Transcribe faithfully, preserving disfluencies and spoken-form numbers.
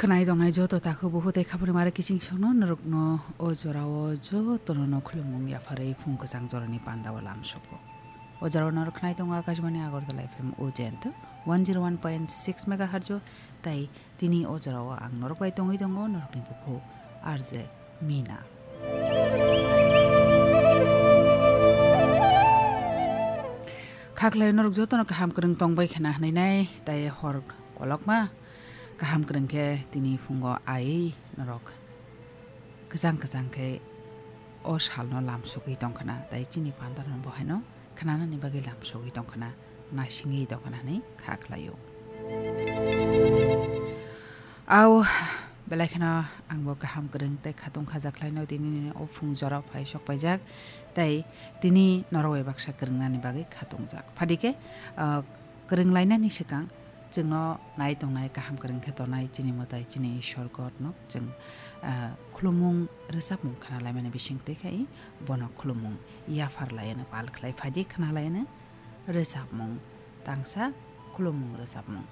Khwnai tongnai joto takhuk bukhuk tei khapri mare kiching songno norokno o jorao jotono no khulumung yapharwi phung kwchang jorani pandao lamsogo. O jorao norok khwnai tongo Akashbani Agartala F M Ujent one zero one point six megahertz o, tei tini o jorao ang norok bai tongwi tongo norokni bukhuk R J Mina. Khaklai norok jotono kaham kwrwng tongbai khna hwnwi nai, tei hor kolokma kaham kwrwng khe tini phungo aiwi norok kwchang kwchang khe o salno lamsogwi tongkhna, tei chini pandarno bohaino khnanani bagwi lamsogwi tongkhna, naisingwi tongkhna hwnwi kha khlaio. Au belai kheno angbo kaham kwrwng tei khatung khajakhlaino tini o phung jorao phai sok paijak, tei tini norok bai baksa kwrwngnani bagwi khatungjak. Phadikhe, ah, kwrwng lainani swkang chwngno nai tongnai kaham kwrwng khe tongnai chini mwtai chini Ishwar Godno chwng, ah, khulumung rwchapmung khna laimani bising twi khai bono khulumung yaphar laiano pal khlai phaidi khna laiano rwchapmung tangsa khulumung rwchapmung.